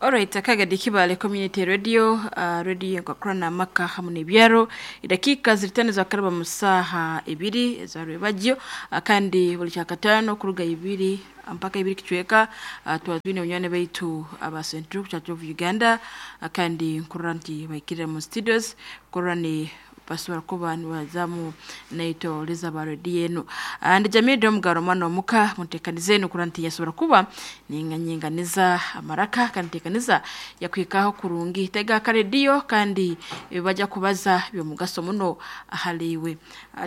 Alright, akagadi Kibale Community Radio, radio enkwakura amaka hamu n'ebyaro. Edakiika ziri tano zakaraba mu saaha ibiri eza rwebagyo, kandi buli kyakataano kuruga ibiri mpaka ibiri kicweka, tuba twine banywani baitu aba St. Luke Church of Uganda, kandi nkurora nti baikirire mu studios kurora ni basobora kuba nibazamu naitwe ba rediyo enu. Ndi Jamil Omugaro omwana omuka muntekaniza enu kurora nti yasobora kuba ninyinganiza amaraka kandi ntekaniza yakuhikaho kurungi. Tega akarediyo kandi bajya kubaza by'omugaso muno ahali iwe.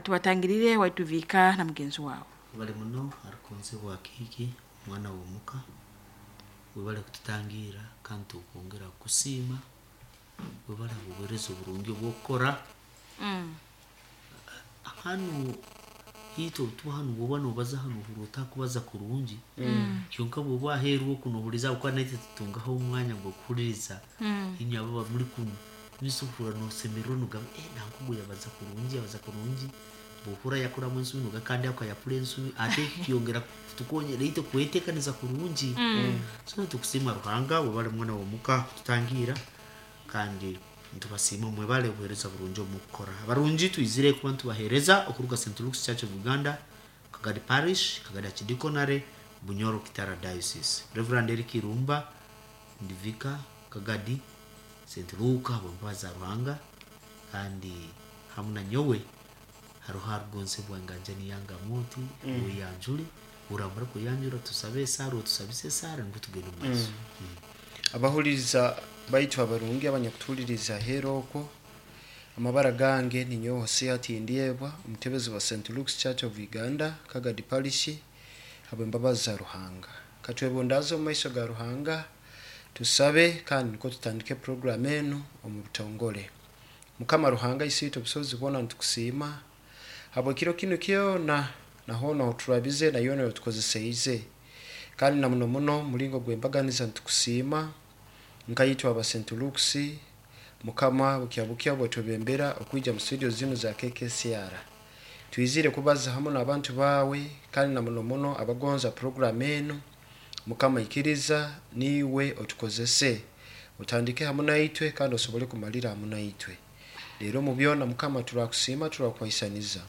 Tubatangirire waituviika na mugenzi wawe. Bali muno arukunze bwa kiiki omwana w'omuka, webale kututangira kandi tukwongera kukusiima, webale obuweereza oburungi obw'okukora. Hanu itwe obutuba hanu bwoba nobaza hanu ohurra otakubaza kurungi, kyonka bwoba aheeru oku nohuriza habwokuba naitwe tutungaho omwanya gw'okuhuliriza inywe abo abamuri kunu, niiso ohurra nosemererwa nogamba nanka ogu yabaza kurungi, yabaza kurungi, bwohurra yakoramu ensobi nogamba kandi ako yakora ensobi, ate eki kyongera kutukonyera itwe kwetekaniza kurungi. So nitukusiima Ruhanga, webale mwana w'omuka kututangira kandi nitubasiima mwebale obuheereza burungi obumukukora. Abarungi twizire kuba nitubaheereza okuruga St. Luke's Church of Uganda, Kagadi Parish, Kagadi Archdeaconry, Bunyoro Kitara Diocese. Reverend Eric Irumba, ndi Vicar Kagadi, St. Luke habw'embabazi za Ruhanga, kandi hamu na nyowe haroho arugonzebwa enganjani yange Amooti, weyanjule, oramara kweyanjura tusabe esaara, otusabise esaara nukwo tugende omu maiso. Abahuliriza baitu abarungi abanyakutuhuliriza aheeru okwo, amabara gange ninyowe Hosea Tindyebwa, omutebezi wa St. Luke's Church of Uganda, Kagadi Parish, habw'embabazi za Ruhanga. Katwebundaaze omu maiso ga Ruhanga, tusabe kandi nikwo tutandike puroguramu enu omu butongole. Mukama Ruhanga Isiitwe obusobozi bwona nitukusiima habw'ekiro kinu kyona na hoona oturabize na yoona otukozeseize, kandi na muno muno omulingo gw'embaganiza nitukusiima nkaitwe aba St. Luke's. Mukama, bukya bukya bwetwebembera okwija mu studio zinu za KKCR, twizire kubaza hamu n'abantu baawe kandi na muno muno abagonza puroguramu enu. Mukama, ikiriza niiwe otukozese, otandike hamu naitwe kandi osobole kumalira hamu naitwe. Leero omu byona, Mukama, turakusiima, turakuhaisaniza,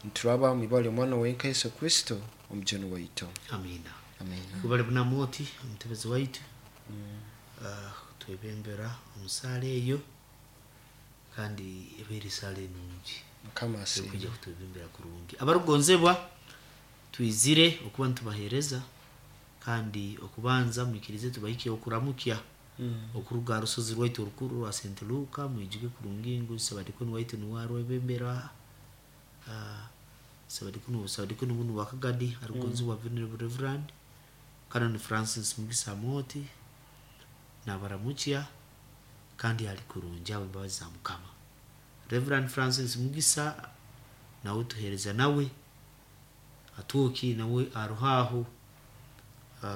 nituraba mu ibara ly'omwana wenka Yesu Kristo omujuni waitu. Amiina. Amiina. Webale muno Amooti, omutebezi waitu, twebembera omu saara eyo kandi ebaire esaara enungi. Mukama asiimwe. Ekwija kutwebembera kurungi. Abarukugonzebwa, twizire okuba nitubaheereza kandi okubanza mwikirize tubahike okuramukya okuruga aha rusozi rwaitu orukuru rwa St. Luka. Mwijuke kurungi ngu Sabadikoni waitu niwe arwebembera, Sabadikoni bunu bwa Kagadi, arukugonzebwa Venerable Reverend Canon Francis Mugisa Amooti, nabaramukya kandi ali kurungi habw'embabazi za Mukama. Reverend Francis Mugisa nawe tuheereza nawe atwoki nawe aroho aho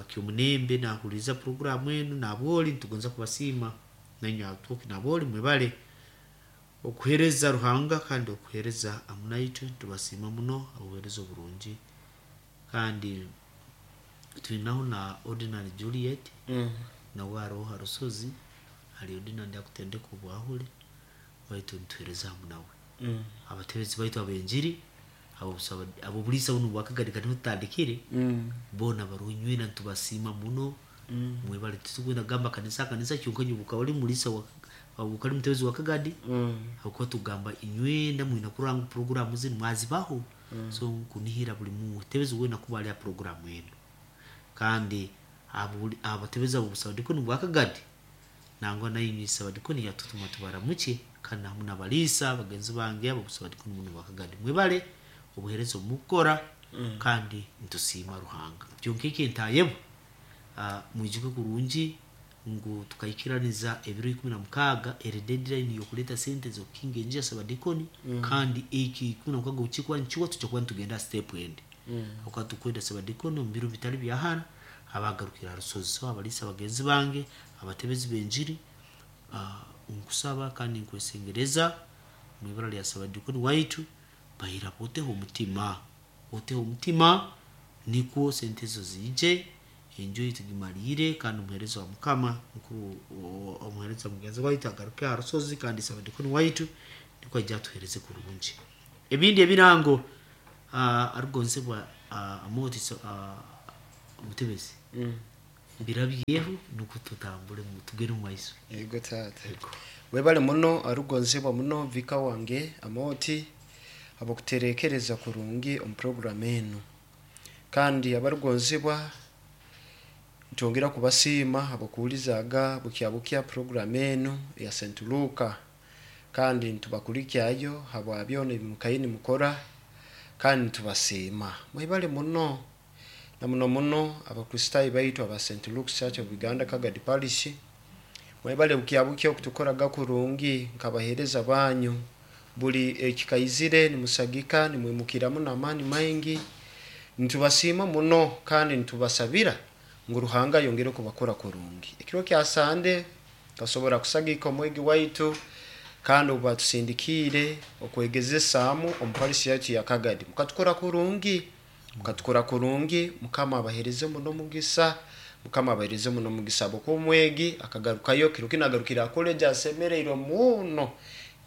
Kyomunembe nahuliriza puroguramu enu nabwoli, nitugonza kubasiima nainywe atwoki nabwoli, mwebale okuheereza Ruhanga kandi okuheereza hamu naitwe, nitubasiima muno obuheereza oburungi. Kandi twinaho na Ordinary Juliet, nawe aroho ha rusozi, ali ordinary akutendeka obwahule, baitu nituheereza hamu nawe. Abatebezi baitu ab'enjiri, ab'obuliisa bunu bwa Kagadi kati niho tutandikire, boona baroho inywena nitubasiima muno, mwebale. Titukwenda kugamba kanisa kanisa kyonka inywe obukaba oli muliisa wa obukaba oli mutebezi wa Kagadi, habwokuba tugamba inywena mwine kurora ngu puroguramu zinu mwazibaho. So nkunihira buli mutebezi weena kuba ali ha puroguramu enu. Kandi abatebezi ab'obusabadikoni bwa Kagadi, nangwa nainywe Sabadikoni yatutuma tubaramukye, kandi hamu n'abaliisa bagenzi bange ab'obusabadikoni bunu bwa Kagadi. Mwebale obuheereza obumukukora kandi nitusiima Ruhanga. Kyonka eki entayebwa, mwijuke kurungi ngu tukaikiraniza ebiro 16 eri deadline y'okuleeta sente z'okukinga enju ya Sabadikoni, kandi eki 16 obukikuba nikiwa tujja kuba nitugenda ha step endi. Habwokuba tukwenda Sabadikoni omu biro bitali bya hara abagarukire ha rusozi. So abaliisa bagenzi bange, abatebezi b'enjiri, nkusaba kandi nkwesengereza omu ibara lya Sabadikoni waitu, baira oteho omutima. Oteho omutima nikwo sente ezo ziije. Enju ei tugimaliire kandi omuheereza wa Mukama mukuru omuheereza mugenzi waitu agaruke aha rusozi kandi Sabadikoni waitu nikwo aije atuheereze kurungi. Ebindi ebirango arugonzebwa Amooti omutebezi birabyeho nukwo tutambule tugende omu maiso. Yego taata. Webale muno arugonzebwa muno vika wange Amooti habw'okuterekereza kurungi omu puroguramu enu. Kandi abarugonzebwa nitwongera kubasiima habw'okuhulizaga bukya bukya puroguramu enu eya St. Luka kandi nitubakulikyayo habwa byona ebi mukaire nimukora kandi nitubasiima. Mwebale muno na muno muno Abakristaayo baitu aba St. Luke's Church of Uganda Kagadi Parish mwebale bukya bukya okutukoraga kurungi nk'abaheereza banyu. Buli ekikaizire nimusagika nimwimukiramu n'amaani maingi. Nitubasiima muno kandi nitubasabira ngu Ruhanga ayongere kubakora kurungi. Ekiro kya Sande tukasobora kusagika omwegi waitu kandi obu batusindikiire okwegezesaamu omu parish yaitu ya Kagadi. Mukatukora kurungi, mukatukora kurungi, Mukama abaheereze muno omugisa, Mukama abaheereze muno omugisa habwokuba omwegi akagarukayo kiro kinu agarukire ha college asemereirwe muno.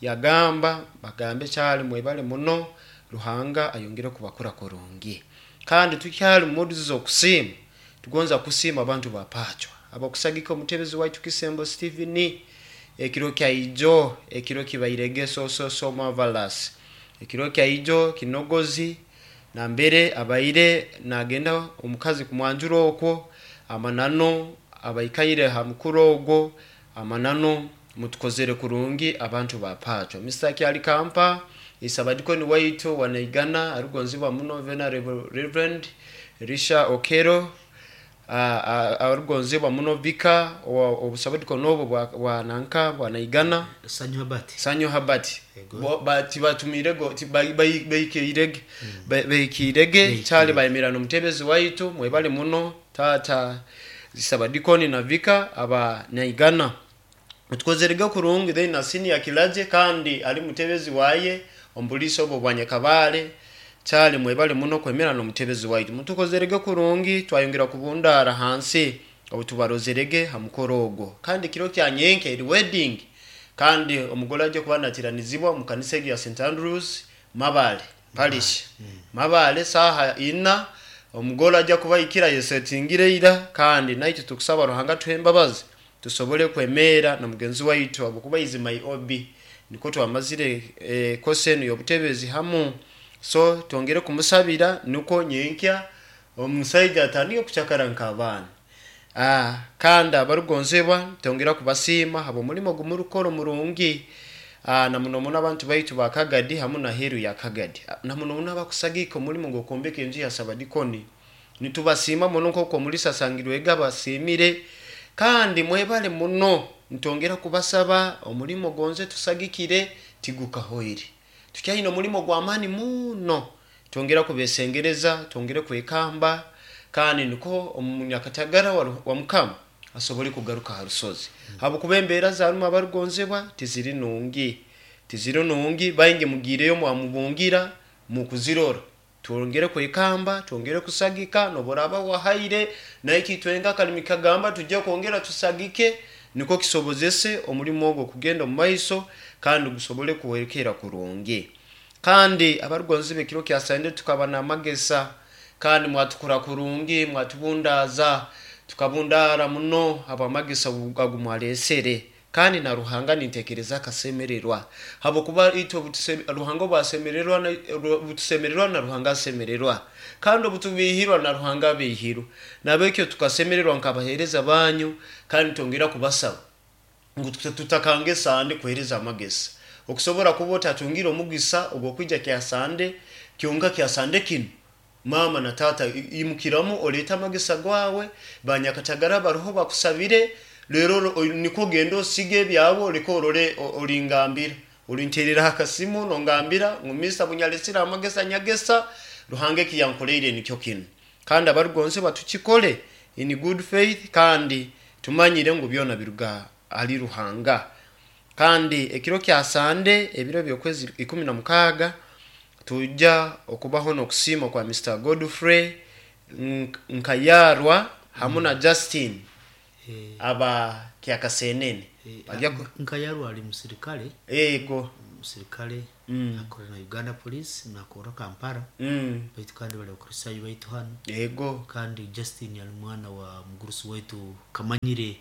Yagamba bagambe kyali mwebale muno, Ruhanga ayongere kubakora kurungi. Kandi tukyali mu mood z'okusiima, tugonza kusiima abantu ba Pacwa abakusagika omutebezi waitu Kisembo Stephen ekiro kya ijo, ekiro kibairege so so so marvelous. Ekiro kya ijo kinogozi nambere abaire nagenda omukazi kumwanjura okwo, amananu abaikaire ha mukura ogwo, amananu mutukozere kurungi abantu ba Pacwa. Mr. Kyalikampa Isabadikoni waitu wanaigana arugonzibwa muno Venerable Reverend Elisha Okero arugonzibwa muno Vika obusabadikoni obwo bwa nanka bwanaigana Sanyu Habati. Sanyu Habati. Tibatumirego baikirege baikirege kyali bayemera n'omutebezi waitu mwebale muno tata Isabadikoni na Vika aba naigana. Tukozerege kurungi then na senior Kilaje kandi ali mutebezi waye omupolisi obwo bwa Nyakabale kyali mwebale muno kwemera n'omutebezi waitu. Mutukozerege kurungi twayongera kubundara hansi obu tubarozerege ha mukoro ogwo. Kandi kiro kya nyenke eri wedding kandi omugole aje kuba natiranizibwa omu kanisa egi ya St. Andrews Mabale Parish. Mabale saha ina omugole aja kuba ikira yesetingire ira kandi naitwe tukusaba Ruhanga tuhe embabazi tusobole kwemeera na mugenzi waitu habwokuba is my OB niko twamazire kosi enu y'obutebezi hamu. So twongere kumusabira nukwo nyenkya omusaija atandike kucakara nk'abaana. Kandi abarugonzebwa twongera kubasiima habw'omulimo gumurukora omurungi na muno muno abantu baitu ba Kagadi hamu na heeru ya Kagadi na muno muno abakusagika omulimo gw'okwombeka enju ya Sabadikoni. Nitubasiima muno nk'oku omulisa asangirwege abasiimire kandi mwebale muno nitwongera kubasaba omulimo gonze tusagikire tigukahoire. Tukyaine omulimo gw'amaani muno twongera kubesengereza twongere kwekamba kandi niko omunyakatagara wa Mukama asobole kugaruka ha rusozi. Habwokuba embeera zarumu abarugonzebwa tiziri nungi, tiziri nungi baingi mugiireyo mwamubungira mukuzirora. Twongere kwekamba, twongere kusagika noboraba wahaire naitwe itwenka akalimi kagamba tujye kwongera tusagike niko kisobozese omulimo ogwo kugenda omu maiso kandi gusobole kuhwerekera kurungi. Kandi abarugonzi b'ekiro kya Sande tukaba n'amagesa kandi mwatukura kurungi, mwatubundaaza, tukabundaara muno habw'amagesa agu mwaleesere. Kandi na Ruhanga nintekereza akasemererwa habwokuba itwe Ruhanga obu asemererwa obutusemererwa na Ruhanga asemererwa kandi obutubihirwa na Ruhanga abihirwa. Nabekyo tukasemererwa nk'abaheereza banyu kandi twongera kubasaba ngu tutakanga esande kuheereza amagesa. Okusobora kuba otatungire omugisa ogw'okwija kya Sande kyonka kya Sande kinu mama na tata imukiramu oleete amagesa gwawe banyakatagara baroho bakusabire rero nikwo ogende osige ebyawe oleke orole olingambira olinterera akasimu nongambira ngu Mr. bunyalesire amagesa nyagesa Ruhanga eki yankoleire nikyo kinu. Kandi abarugonzebwa tukikole in good faith kandi tumanyire ngu byona biruga ahali Ruhanga. Kandi ekiro kya Sande ebiro by'okwezi 16 tujja okubaho n'okusiima kwa Mr. Godfrey Nkayarwa Hamu na Justin aba Kyakasenene. Bajya Nka yarwa ali musirikale. Ego. Musirikale akora na Uganda Police, nakora Kampala. Baitu kandi bali bakristayo baitu hano. Ego. Kandi Justin ali mwana wa mugurusi waitu Kamanyire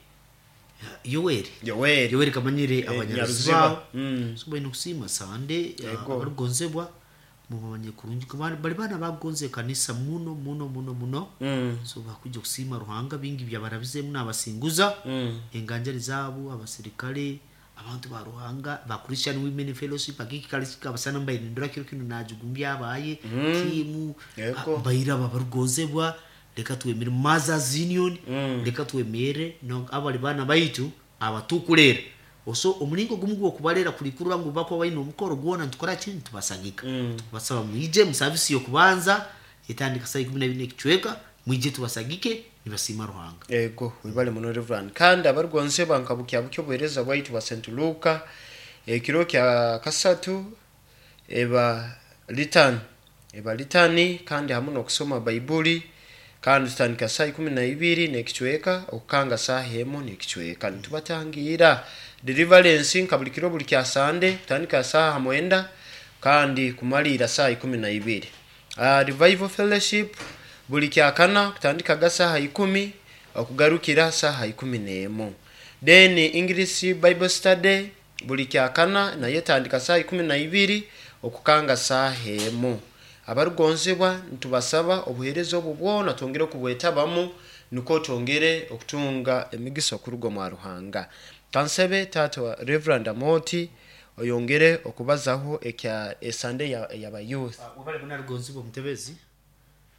Yoweri. Yoweri. Yoweri Kamanyire Nyaruziba. abanyaruziba. So baine kusiima Sande Yego. abarugonzebwa mubamanye kurungi kuba bali bana bagonze kanisa muno muno muno muno. So bakujja kusiima Ruhanga bingi byabarabizemu nabasinguza enganjari zaabo abasirikale abantu ba Ruhanga ba Christian Women Fellowship akiki abasana mbairindura kiro kino najugumbya abaye timu Yego. baira babarugonzebwa reka twemere Mothers Union, reka twemere no abali bana baitu abatukulera oso omulingo gumu gwokubalera kulikurura ngu bakwa baine omukoro gwona nitukora ki nitubasagika. Tukubasaba mwije mu service yokubanza etandika saa 12 n'ekicweka, mwije tubasagike nibasiima Ruhanga. Ego, wibale muno Reverend. Kandi abarugonzebwa nka bukya bukyo obuheereza bwaitu bwa St. Luka ekiro kya kasatu eba litani, eba litani kandi hamu n'okusoma Baibuli, kandi tutandika saa 12 n'ekicweka okukanga saaha 1 n'ekicweka. Nitubatangira deliverance nka buli kiro buli kya Sande kutandika saaha 9 kandi kumalira saa 12. Revival Fellowship buli kya kana kutandika ga saaha 10 okugarukira saaha 11. Then English Bible Study buli kya kana naye tandika saaha 12 okukanga saaha 1. Abarugonzebwa nitubasaba obuheereza obu bwona twongere okubwetabamu niko twongere okutunga emigisa okuruga mwa Ruhanga. Kansebe taata wa Reverend Amoti oyongere okubazaho ekya esande yaba youth. Wabale muna rugonzibwa omutebezi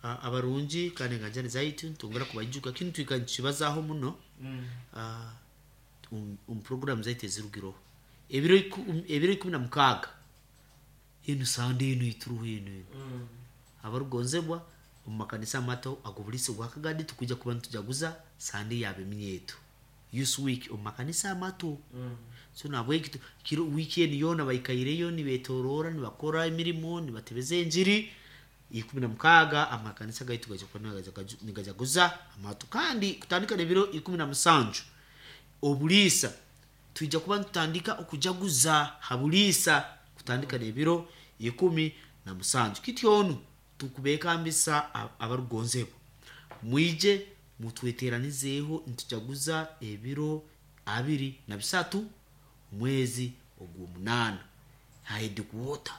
abarungi kandi enganjani zaitu ntongera kubajuka kinu twika nkibazaho muno. Program zaitu ezirugiroho ebiro 16 enu sande enu ituruho enu enu. Abarugonzebwa omu makanisa amato ag'obulisi bwa Kagadi tukuja kuba nitujaguza sande y'abeminyeeto Youth Week omu makanisa amato. So nabweki kiro weekend yoona baikaireyo nibetorora nibakora emirimo nibatebeza enjiri 16 amakanisa gaitu gaija kuba nigajaguza amato. Kandi kutandika n'ebiro 17 obuliisa twija kuba nitutandika okujaguza ha buliisa kutandika n'ebiro 17. Kityonu tukubekambisa abarugonzebwa mwije mutweteranizeeho nitujaguza ebiro 23 mwezi ogw'omunaana ha headquarter.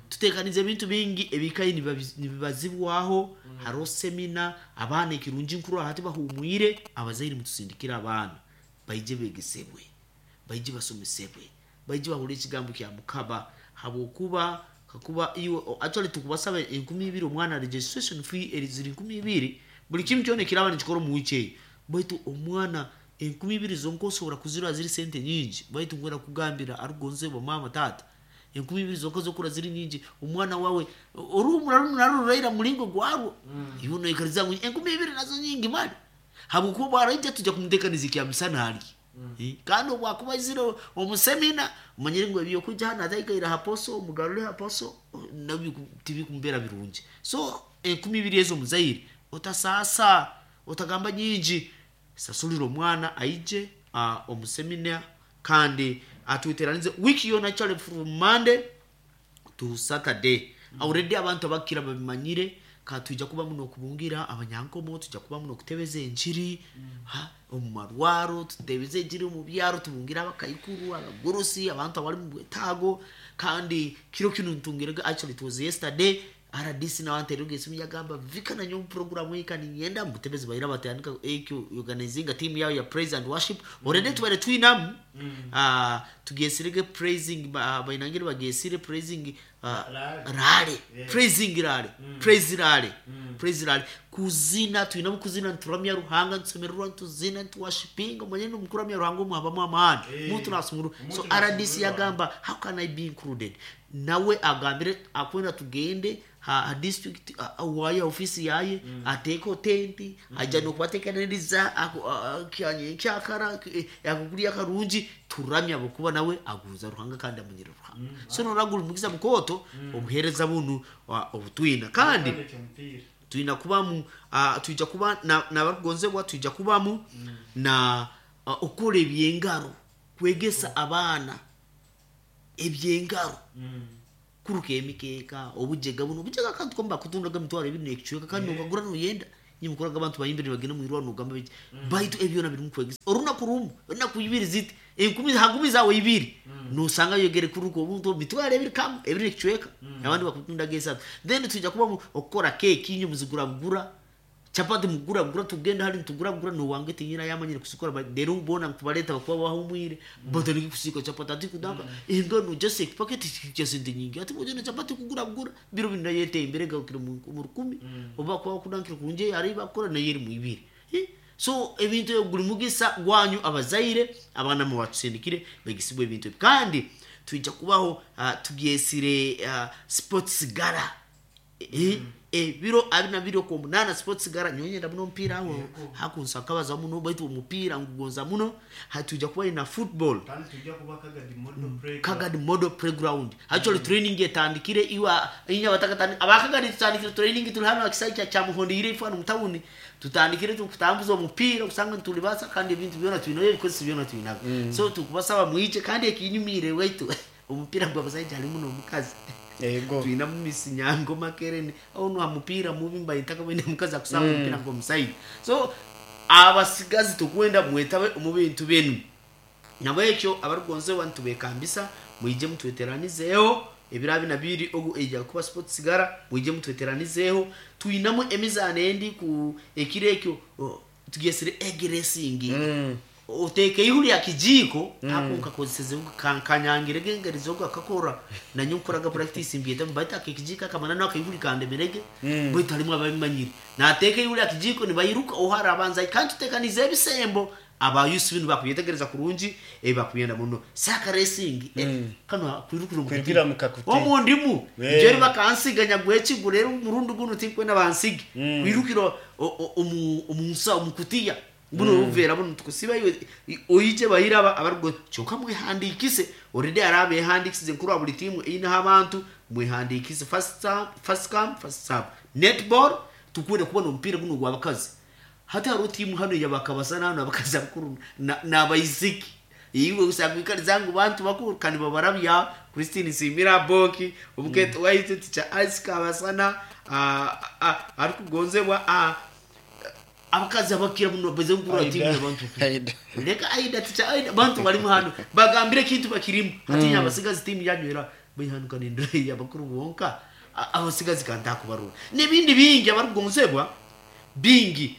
Tutekanize ebintu bingi ebikayi nibibazibwaho. Hariho semina abaana ekirungi nkuru aha tibahumwire abazaire mutusindikire abaana baije begesebwe baije basomesebwe baije bahure ekigambo kya Mukama habwokuba kakuba iwe actually tukubasaba 2000 omwana registration fee eri ziri 2000 buli kimu kyona ekiraba nikikora omu wiki eyo baitu omwana 2000 zonka osobora kuzirwa ziri sente nyingi baitu ngwera kugambira arugonzebwa mama tata 2000 zonka zokura ziri nyingi omwana wawe oruhumura runaruraira mulingo gwarwo iwe noikariza ngu 2000 nazo nyingi mali habwokuba bwaraija tujja kumutekaniza ekya misana ali. Kandi obwakuba aizire omu semina omanyire ngu ebyokuja hano ataikaire ha poso omugarure ha poso nabyo tibikumubeera birungi. So 2000 ezo omuzaire otasaasa otagamba nyingi sasulira omwana aije omu semina kandi atweteranize wiki yona actually from Monday to Saturday. Already abantu abakira babimanyire ka tuija kuba muno okubungira abanyankomo tuija kuba muno okutebeza enjiri omu marwaro tutebeze enjiri omu byaro tubungira abakaikuru abagurusi abantu abali mu bwetaago. Kandi kiro kino ntungirega actually it was yesterday RDC nawantererwa esimu yagamba vika na nyomu program iyi kandi ngenda mutebezi baira batandika ekyo organizing a team yao ya praise and worship. Already tubare twinamu tugesirege praising bainangire bagesire praising rale praising rale praise rale praise rale kuzina twinamu kuzina nturamya Ruhanga ntusemererwa ntuzina ntuworshiping omanye n'omukuramya Ruhanga omwabamu amaani muntu nasumuru. So RDC yagamba how can I be included nawe agambire akwenda tugende ha district waye ofisi yaye ateko tenti aja nokubatekaniriza kyakara yakukulya karungi turamya bokuba nawe aguza Ruhanga kandi amunyira Ruhanga. So noragura umugiza mukoto obuhereza bunu obutwina kandi Twina kubamu twija kuba n'abarukugonzebwa, twija kubamu na okukora ebyengaro, kwegesa abaana ebyengaro, kuruka emikeeka, obujega buno obujega akantu kamu bakutundaga 20,000 n'ekicweka, kandi nokagura noyenda. Nyowe abantu bayimbire nibagenda mu irwariro nogamba biki, baitu ebyo byona birimu kwegesa. Orunaku rumu, enaku ibiri ziti, enkumi ha nkumi zawe ibiri, nosanga oyegere kuruka obuntu 20,000 kamu, ebiri n'ekicweka, abandi bakutundaga 3. Then twija kubamu okukora keeki, inywe muzigura bugura, chapati mugura bugura, tugenda hali nitugura bugura, nowange tinyina yamanyire kuzikora, rero boona nkubaleta bakuba bahumwire, batandike kusiika chapati, ati kudaka engano just ekipaketi kya sente nyingi, ati mugende chapati kugura bugura, biro binu nayo etembere egarukire mu 1000, oba kuba kudankire kurungi hari bakora nayo eri mu 2. So ebintu ebyo guri mugisa gwanyu abazaire, abaana mubatusindikire begesibwe ebintu ebi. Kandi twija kubaho tubyesire sports gala. Ebiro abiri na bibiri okw'omunaana sports gala, nyowe nyenda muno omupiira aho hakunsa nkabaza muno, baitu omupiira ngugonza muno. Hatwija kuba na football. Kandi tujja kuba Kagadi Model Playground. Kagadi Model Playground. Actually training etandikire iwa inya batakatandi abakagadi tutandikire training, tuli hano akisai kya Muhondiire ifo hano mu tawuni, tutandikire tukutambuza omupiira kusanga ntulibasa, kandi ebintu byona twinayo, ebikozeso byona twinabyo. So tukubasaba mwije, kandi ekinyumire waitu omupiira gw'abasaija harimu n'omukazi. Twina mu Miss Nyango Makerene ono ha mupiira mubi mbayitaka bwene mukazi akusamba omupiira ng'omusaija. So abasigazi tukwenda mwetabe omu bintu binu. Nabwekyo abarukugonzebwa nitubekambisa mwije mutweteranizeeho ebiro abiri na bibiri ogu eija kuba sports gala, mwije mutweteranizeeho. Twinamu emizaano endi ku ekiro ekyo, tugyesire egg racing. Oteeka ihuri ya kijiko ako nkakozeseze kanyangirege engeri zogo akakora, nanyo nkoraga practice mbyeta baita akekijiko akamanano akaihuri kandemerege, baitu harimu ababimanyire nateeka ihuri ya kijiko nibayiruka ohara abanza, kandi tutekanize ebisembo abayusi binu bakubyetegereza kurungi, bakuyenda muno saka racing, kano kwirukira mu Kwirukira mu kakutiya. Omu ndimu njeri bakansiganya gwekigu, rero murundi guno tinkwenda bansige. Kwirukira omunsa omukutiya buno buvera buno tukusiba iwe oyije bayiraba abarugo, kyonka mwehandikise already, arabe yehandikisize nkuru wa buli timu inaho abantu mwehandikise, first serve, first come first serve. Netball tukwenda kubona omupiira guno gw'abakazi, hati hariho timu hano yabakabasana hano abakazi abakuru n'abaisiki, iwe usanga wikariza ngu bantu bakuru kandi babarabya. Christine Simira Boki omuketo waitu ticha Ice Kabasana arikugonzebwa abakazi abakira muno baze nkuru timu y'abantu bakuru. Aida. Leka Aida, ticha Aida, bantu balimu hano bagambire ekintu bakirimu, hatinya abasigazi timu yanywera bayihanuka nindira abakuru bonka, abasigazi kantakubarura n'ebindi bingi abarukugonzebwa bingi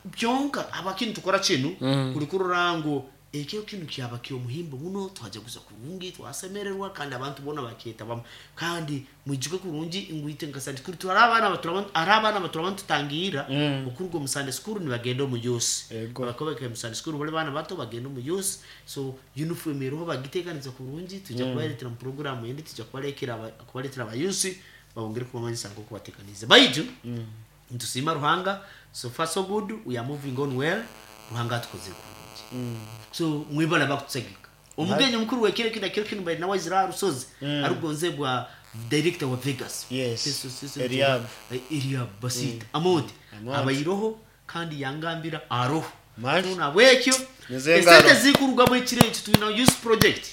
byonka abakintu tukora kinu kuri kurora ngu ekyo kinu kyaba ky'omuhimbo muno, twajaguza kurungi, twasemererwa, kandi abantu bona bakyetabamu. Kandi mwijuke kurungi ngwite nka Sunday school turi abaana batura, ari abaana batura tutangira okuruga omu Sunday school nibagenda omu youth. Abakuba mu Sunday school bali baana bato bagenda omu youth, so uniform eriho bagiteekaniza kurungi, tujja kubaletera mu program endi, tujja kubaletera aba youth babongere kubamanyisa nk'oku bateekanize. Baitu nitusiima Ruhanga, so far so good, we are moving on well, Ruhanga atukoze kurungi. So mwibala bakutusagika omugenyi omukuru wekiro kino, kiro kino bali nawe Israel Rusozi arugonzebwa director wa Vegas. Yes. Seso, Eliab. Eliab Basita Amoti. Amoti. Abayiroho kandi yangambira aroho. Mali. So nabwekyo Nize esente ngaro. zikurugamu ekiro ekyo tulina youth project,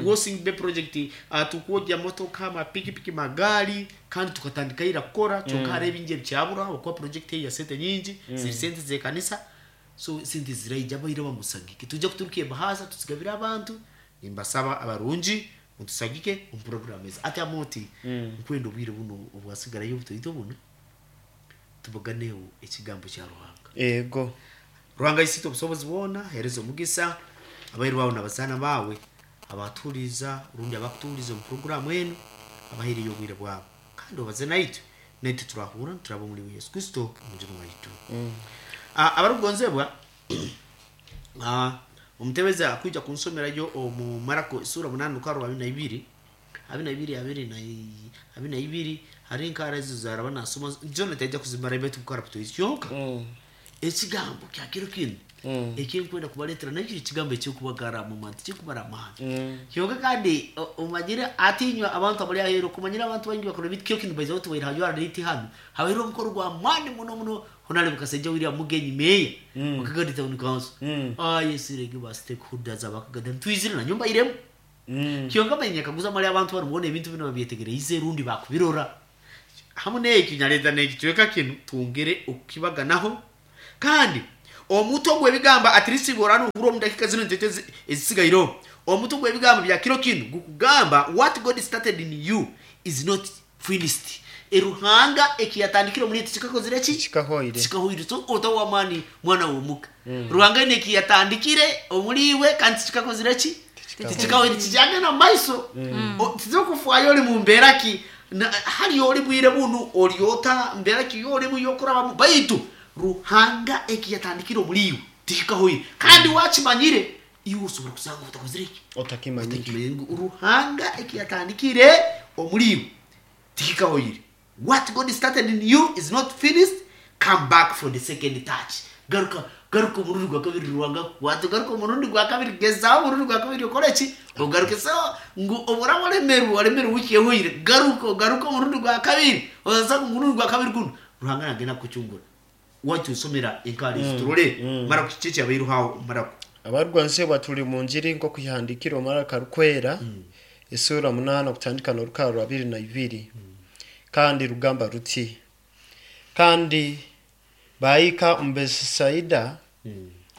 Washing Bay project, tukwogya motoka, amapikipiki, magaali, kandi tukatandika ira kukora, kyonka hariho ebingi ebikyabura okuba project eyi ya sente nyingi, ziri sente z'ekanisa, so sente ziraija abaire bamusagike, tujja kuturuka ebahasa tuzigabire abantu. Nimbasaba abarungi mutusagike omu program ezi. Ati Amoti, nkwenda obwire buno obwasigarayo obutoito buno tubaganeho ekigambo kya Ruhanga. Ruhanga isite obusobozi bwona, hereza omugisa abairu bawe n'abazaana bawe abatuhuriza rundi abakutuhuriza omu puroguramu enu, abaheereye obwire bwabo, kandi obaze naitwe, naitwe turahura turaba omuri Yesu Kristo omujuni waitu. Abarukugonzebwa, omutebezi akwija kunsomerayo omu Marako sura 8 rukaro 22, 22, 22. Hari enkara ezo zaraba nasoma John taija kuzimara, baitu kukara kutoizi kyonka ekigambo kya kiro kinu. Ekinkwenda kubaletera nakyo ekigambo ekyokubagara mu tikubara amaani. Kyonka kandi omanyire atinywa abantu abali aheeru, okumanyira abantu baingi bakora ebintu kyo kinu baiza tubaire hajwara niti hanu. Habaire omukoro gwa maani muno muno Honorable Kasaija William Mugenyi Meya wa Kagadi Town Council. Ayesirege ba stakeholders abakagadi twizire na nyumba iremu. Kyonka manya kaguza mali abantu bari mubona ebintu bino babyetegereize rundi bakubirora. Hamu n'eki nyaleta n'ekicweka kinu twongere okukibaganaho. Kandi omuto gw'ebigambo at least borano ohurwa omu dakika zino ntete ezisigaireho. Omuto gw'ebigambo bya kiro kinu gukugamba what God started in you is not finished. Eruhanga ekiyatandikire omuri kikakozire ki? Kikahoire. Kikahoire. So otawa amani mwana w'omuka. Ruhanga ine ekiyatandikire omuri iwe kandi kikakozire ki? Kikahoire. Kijagenda mu maiso. Tizokufwayo oli mu mbeera ki? Hali oli bwire bunu oliota mbeera ki yolimu yokurabamu baitu Ruhanga ekiyatandikire omuri iwe tikikahoire. Kandi wakimanyire iwe osobora kusanga otakozire ki? Otakimanyire. Ruhanga ekiyatandikire omuri iwe tikikahoire. What God started in you is not finished. Come back for the second touch. Garuka garuka omurundi gwa kabiri Ruhanga kukwata, garuka omurundi gwa kabiri gezaho omurundi gwa kabiri okore ki? Ogaruke. So ngu obura waremerwa waremerwa wiki ehoire, garuka ogaruka omurundi gwa kabiri, oza omurundi gwa kabiri guno Ruhanga nagenda kukucungura. Watu usomera enkari turole mara kuchiche abairu hao mara Abarwanse batuli mu njiri nko kuyihandikira omara karukwera esura 8 kutandika n'orukaro 22. Kandi rugamba ruti, kandi baika omu Besaida,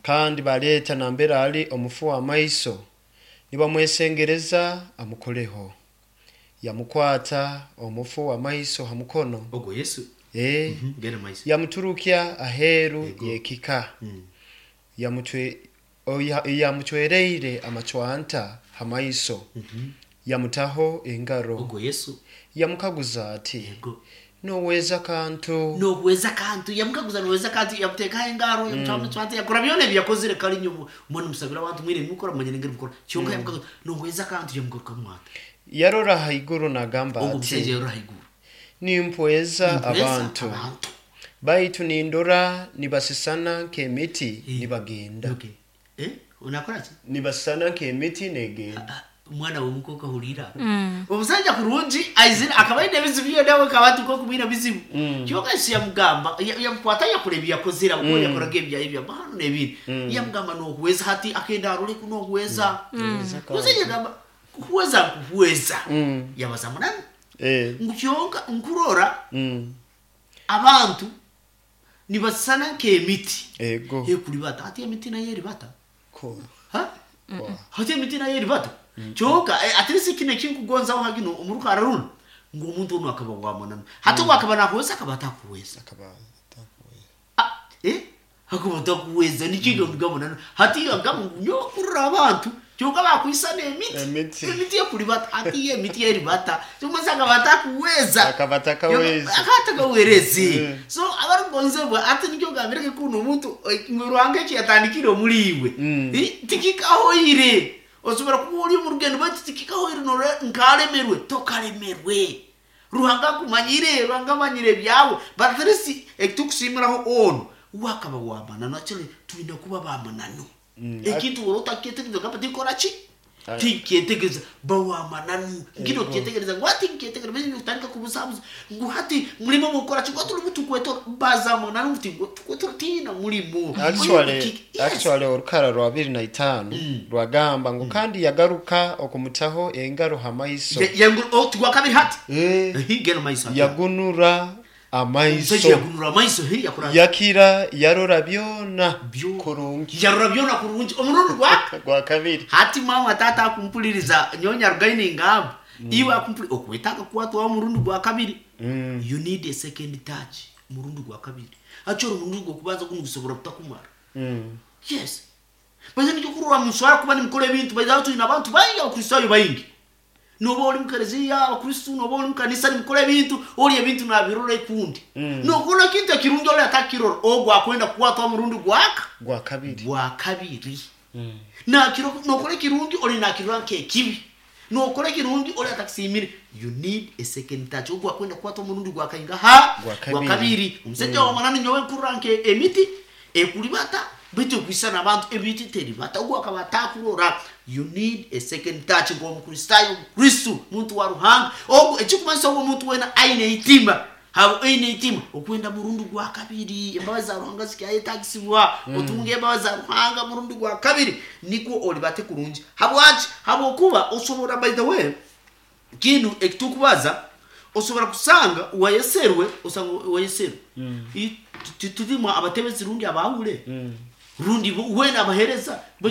kandi baleta nambere ali omufu w'amaiso, nibamwesengereza amukoleho. Yamukwata omufu w'amaiso ha mukono. Ogwo Yesu. Genda maiso. Yamuturukya aheeru Ego. y'ekika. Yamuchwereire amachwanta ha maiso, yamutaho engaro. Ogwo Yesu. Yamukaguza ati, Ego. noweza kantu? Noweza kantu. Yamukaguza noweza kantu, yamutekaho engaro, yamutaho amachwanta, yakora byona ebi yakozire kali nyuma. Mbona musabira abantu mwire mukora manyine ngeri mukora. Kyonka yamukaguza noweza kantu, yamugaruka mwata. Yarora haiguru nagamba Ogwo musajja ati, yarora haiguru. Nimpweza Nimpweza abantu. abantu. Baitu nindora nibasisana nk'emiti nibagenda. Okay. Unakora ki? Nibasisana nk'emiti negenda. Umwana w'umukobwa ahurira. Omusajja kurungi aizira akaba aine ebizibu byona we akaba atuka kumwina bizibu. Kyonka Yesu yamugamba yamukwata yakora ebi yakozire kuko yakoraga ebya ebya bahano n'ebindi. Yamugamba nokuweza hati akenda arole kunokuweza. Omusajja yagamba kuweza kuweza. Yabaza munani. Ngu kyonka nkurora abantu nibasana nk'emiti. Ego. Ekuribata hati emiti nayo eribata. Ko. Ha? Hati emiti nayo eribata. Kyonka at least kino ekinkugonzaho hagino omuruka araruna ngu omuntu ono akaba wamananu. Hati wakaba nakuweza akaba atakuweza. Akaba atakuweza. Akaba atakuweza nikiga mugabo hati agamba ngu nyokurra abantu kyonka bakwisana emiti. Emiti. Emiti ekuribata hati emiti eribata. Kyonka akaba atakuweza. Akaba atakaweza. Akaba atakawerezi. So abarugonzebwa ati nikyo gambireke kuno omuntu ngu Ruhanga eki yatandikire omuri iwe. Tikikahoire. Osobora kuba ori omu rugendo baitu tikikahoire nkaremerwe tokaremerwe. Ruhanga akumanyire, Ruhanga amanyire ebyawe. But at least ekitukusimiraho ono wakaba wamananu actually twine kuba bamananu. Ekintu wora otakyetegereza gamba tikora ki? Tikyetegereza bawamananu. Ngino kyetegereza ngu ati nkyetegereza baitu kutandika kubuzabuza ngu hati mulimo mukora ki? Ngu tuli tukwetora bazamananu ngu tukwetora tina mulimo. Yes. Actually orukara rwa 25 rwagamba ngu kandi yagaruka okumutaho engaro ha maiso. Tugwa kabiri hati. Geno maiso. Yagunura amaiso. Omusajja yagunura amaiso, yakora. Yakira yarora byona Byo- kurungi. Yarora byona kurungi. Omurundi gwa gwa kabiri. Hati mama tata akumpuliriza nyonya rugaine ngamba. Iwe akumpuli okwetaka kuwatwa omurundi gwa kabiri. You need a second touch. Murundi gwa kabiri. Achoro murundi gwa kubanza guno gusobora kutakumara. Yes. Baza nikyo kurora muswara kuba nimukora ebintu baza tulina abantu baingi abakristayo baingi. Noba ori mu kereziya abakristu, noba ori mu kanisa nimukora ebintu, ori ebintu nabirora ekundi. Nokora kintu ekirungi ori atakirora, ogwo akwenda kukwatwa murundi gwaka gwa kabiri. Gwa kabiri. Nakiro nokora ekirungi ori nakirora nk'ekibi. Nokora ekirungi ori atakisimire. You need a second touch. Ogwo akwenda kukwatwa murundi gwa kainga ha Gwa gwa kabiri. kabiri. Omusajja wa manani nyowe nkurora nke emiti ekuribata. Baitu okwisana abantu ebintu teribata ogu akaba atakurora. You need a second touch nk'Omukristaayo, Omukristo, muntu wa Ruhanga. Ogu ekikumanyisa ogu omuntu wena aine eitima. Habo aine eitima okwenda murundi gwa kabiri. Embabazi za Ruhanga zikyayetagisibwa. Otunge embabazi za Ruhanga murundi gwa kabiri nikwo olibate kurungi. Habwaki? Habwokuba osobora, by the way, kinu ekitukubaza, osobora kusanga wayeserwe, osanga wayeserwe. Titulimu abatebezi rundi abahule rundi wena abahereza.